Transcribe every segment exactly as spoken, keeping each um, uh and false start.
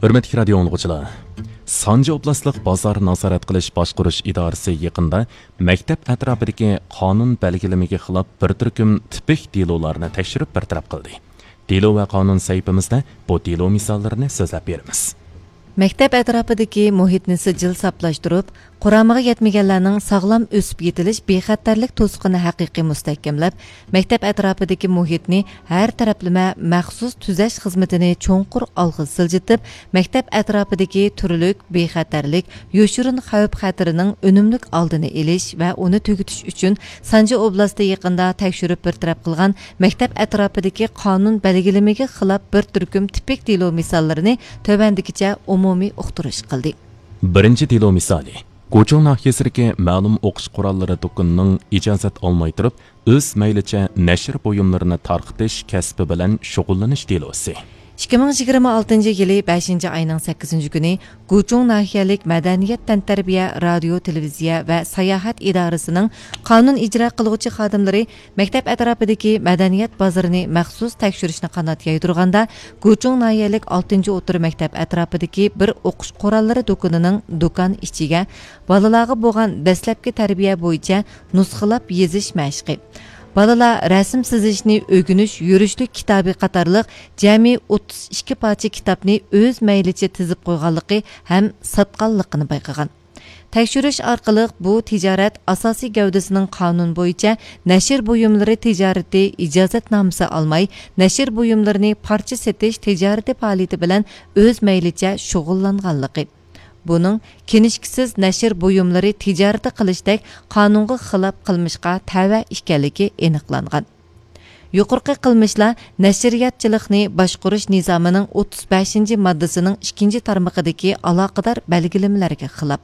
ھۆرمەتلىك رادىيو ئاڭلىغۇچىلار، سانجى ئوبلاستلىق بازار نازارەت قىلىش باشقۇرۇش ئىدارىسى يېقىندا مەكتەپ ئەتراپىدىكى قانۇن بەلگىلىمىگە خىلاپ بىر تۈركۈم تىپىك دېلولارنى تەكشۈرۈپ بىر تەرەپ قىلدى. دېلو ۋە قانۇن سەھىپىمىزدە بۇ دېلو مىساللىرىنى سۆزلەپ بېرىمىز. مەكتەپ ئەتراپىدىكى مۇھىتنى سىجىل ساپلاشتۇرۇپ، قۇرامىغا يەتمىگەنلەرنىڭ ساغلام ئۆسۈپ يېتىلىش بىخەتەرلىك توسۇقىنى ھەقىقىي مۇستەھكەملەپ، مەكتەپ ئەتراپىدىكى مۇھىتنى ھەر تەرەپلىمە مەخسۇس تۈزەش خىزمىتىنى چوڭقۇر ئالغا سىلجىتىپ، مەكتەپ ئەتراپىدىكى تۈرلۈك بىخەتەرلىك، يوشۇرۇن خەۋپ خەتىرىنىڭ ئۈنۈملۈك ئالدىنى ئېلىش ۋە ئۇنى تۈگىتىش ئۈچۈن سانجى ئوبلاستى يېقىندا تەكشۈرۈپ بىر تەرەپ قىلغان مەكتەپ ئەتراپىدىكى قانۇن بەلگىلىمىگە خىلاپ بىر تۈركۈم تىپىك دېلو مىساللىرىنى تۆۋەندىكىچە ئومۇمىي ئۇقتۇرۇش قىلدى. بىرىنچى دېلو مىسالى، گۇچۇڭ ناھىيەسىدىكى مەلۇم ئوقۇش قوراللىرى دۇكىنىنىڭ ئىجازەت ئالماي تۇرۇپ، ئۆز مەيلىچە نەشر بۇيۇملىرىنى تارقىتىش كەسپى بىلەن شۇغۇللىنىش دېلوسى. ئىككى مىڭ يىگىرمە ئالتىنچى يىلى بەشىنچى ئاينىڭ سەككىزىنچى كۈنى گۇچۇڭ ناھىيەلىك مەدەنىيەت، تەنتەربىيە، رادىيو، تېلېۋىزىيە ۋە ساياھەت ئىدارىسىنىڭ قانۇن ئىجرا قىلغۇچى خادىملىرى مەكتەپ ئەتراپىدىكى مەدەنىيەت بازىرىنى مەخسۇس تەكشۈرۈشنى قانات يايدۇرغاندا، گۇچۇڭ ناھىيەلىك ئالتىنچى ئوتتۇرا مەكتەپ ئەتراپىدىكى بىر ئوقۇش قوراللىرى دۇكىنىنىڭ دۇكان ئىچىگە بالىلارغا بولغان دەسلەپكى تەربىيە بويىچە نۇسخىلاپ يېزىش مەشقى، بالىلار رەسىم سىزىشنى ئۆگىنىش يۈرۈشلۈك كىتابى قاتارلىق جەمئىي ئوتتۇز ئىككى پارچە كىتابنى ئۆز مەيلىچە تىزىپ قويغانلىقى ھەم ساتقانلىقىنى بايقىغان. تەكشۈرۈش ئارقىلىق بۇ تىجارەت ئاساسىي گەۋدىسىنىڭ قانۇن بويىچە نەشر بۇيۇملىرى تىجارىتى ئىجازەتنامىسى ئالماي، نەشر بۇيۇملىرىنى پارچە سېتىش تىجارىتى پائالىيىتى بىلەن ئۆز مەيلىچە شۇغۇللانغانلىقى، بۇنىڭ كىنىشكىسىز نەشر بۇيۇملىرى تىجارىتى قىلىشتەك قانۇنغا خىلاپ قىلمىشقا تەۋە ئىكەنلىكى ئېنىقلانغان. يۇقىرىقى قىلمىشلار نەشرىياتچىلىقنى باشقۇرۇش نىزامىنىڭ ئوتتۇز بەشىنچى ماددىسىنىڭ ئىككىنچى تارمىقىدىكى ئالاقىدار بەلگىلىمىلەرگە خىلاپ.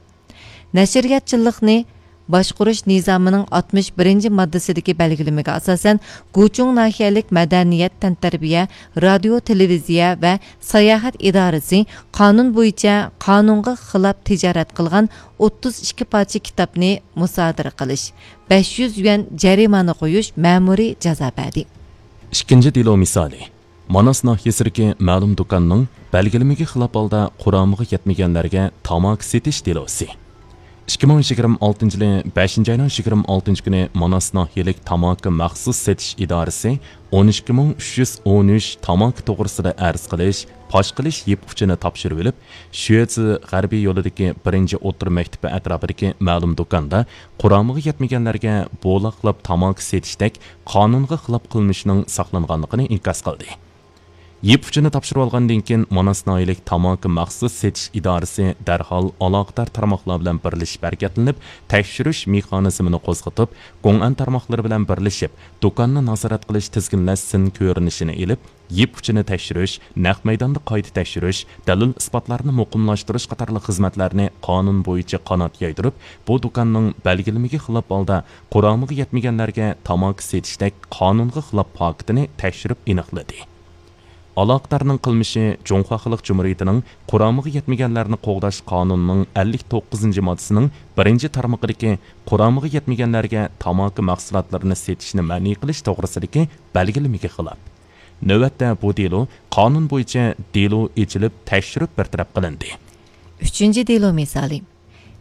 نەشرىياتچىلىقنى باشقۇرۇش نىزامىنىڭ ئاتمىش بىرىنچى ماددىسىدىكى بەلگىلىمىگە ئاساسەن، گۇچۇڭ ناھىيەلىك مەدەنىيەت، تەنتەربىيە، رادىيو، تېلېۋىزىيە ۋە ساياھەت ئىدارىسى قانۇن بويىچە قانۇنغا خىلاپ تىجارەت قىلغان ئوتتۇز ئىككى پارچە كىتابنى مۇسادىرە قىلىش، بەش يۈز يۈەن جەرىمانە قويۇش مەمۇرىي جازا بەردى. ئىككىنچى دېلو مىسالى. ماناس ناھىيەسىدىكى مەلۇم دۇكاننىڭ بەلگىلىمىگە خىلاپ ھالدا قۇرامىغا يەتمىگەنلەرگە تاماكا سېتىش دېلوسى. ئىككى مىڭ يىگىرمە ئالتىنچى يىلى بەشىنچى ئاينىڭ يىگىرمە ئالتىنچى كۈنى ماناس ناھىيەلىك تاماكا مەخسۇس سېتىش ئىدارىسى ئون ئىككى مىڭ ئۈچ يۈز ئون ئۈچ تاماكا توغرىسىدا ئەرز قىلىش، پاش قىلىش يىپ ئۇچىنى تاپشۇرۇۋېلىپ، شۈەجى غەربىي يولىدىكى بىرىنچى ئوتتۇرا مەكتىپى ئەتراپىدىكى مەلۇم دۇكاندا قۇرامىغا يەتمىگەنلەرگە بولاقلاپ تاماكا سېتىشتەك قانۇنغا خىلاپ قىلمىشنىڭ ساقلانغانلىقىنى ئىنكاس قىلدى. يىپ ئۇچىنى تاپشۇرۇۋالغاندىن كېيىن، ماناس ناھىيەلىك تاماكا مەخسۇس سېتىش ئىدارىسى دەرھال ئالاقىدار تارماقلار بىلەن بىرلىشىپ ھەرىكەتلىنىپ، تەكشۈرۈش مېخانىزمىنى قوزغىتىپ، گوڭئەن تارماقلىرى بىلەن بىرلىشىپ، دۇكاننى نازارەت قىلىش، تىزگىنلەش سىن كۆرۈنۈشىنى ئېلىپ، يىپ ئۇچىنى تەكشۈرۈش، نەق مەيداندا قايتا تەكشۈرۈش، دەلىل-ئىسپاتلارنى مۇقىملاشتۇرۇش قاتارلىق خىزمەتلەرنى قانۇن بويىچە قانات يايدۇرۇپ، بۇ دۇكاننىڭ بەلگىلىمىگە خىلاپ ھالدا قۇرامىغا يەتمىگەنلەرگە تاماكا سېتىشتەك قانۇنغا خىلاپ پاكىتىنى تەكشۈرۈپ ئېنىقلىدى. ئالاقىدارنىڭ قىلمىشى جۇڭخۇا خەلق جۇمھۇرىيىتىنىڭ قۇرامىغا يەتمىگەنلەرنى قوغداش قانۇنىنىڭ ئەللىك توققۇزىنچى ماددىسىنىڭ بىرىنچى تارمىقىدىكى قۇرامىغا يەتمىگەنلەرگە تاماكا مەھسۇلاتلىرىنى سېتىشنى مەنئى قىلىش توغرىسىدىكى بەلگىلىمىگە خىلاپ. نۆۋەتتە بۇ دېلو قانۇن بويىچە دېلو ئېچىلىپ، تەكشۈرۈپ بىر تەرەپ قىلىندى. ئۈچىنچى دېلو مىسالى.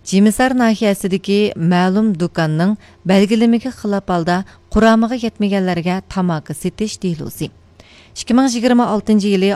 جىمىسار ناھىيەسىدىكى مەلۇم دۇكاننىڭ بەلگىلىمىگە خىلاپ ھالدا قۇرامىغا يەتمىگەنلەرگە تاماكا سېتىش دېلوسى. ئىككى مىڭ يىگىرمە ئالتىنچى يىلى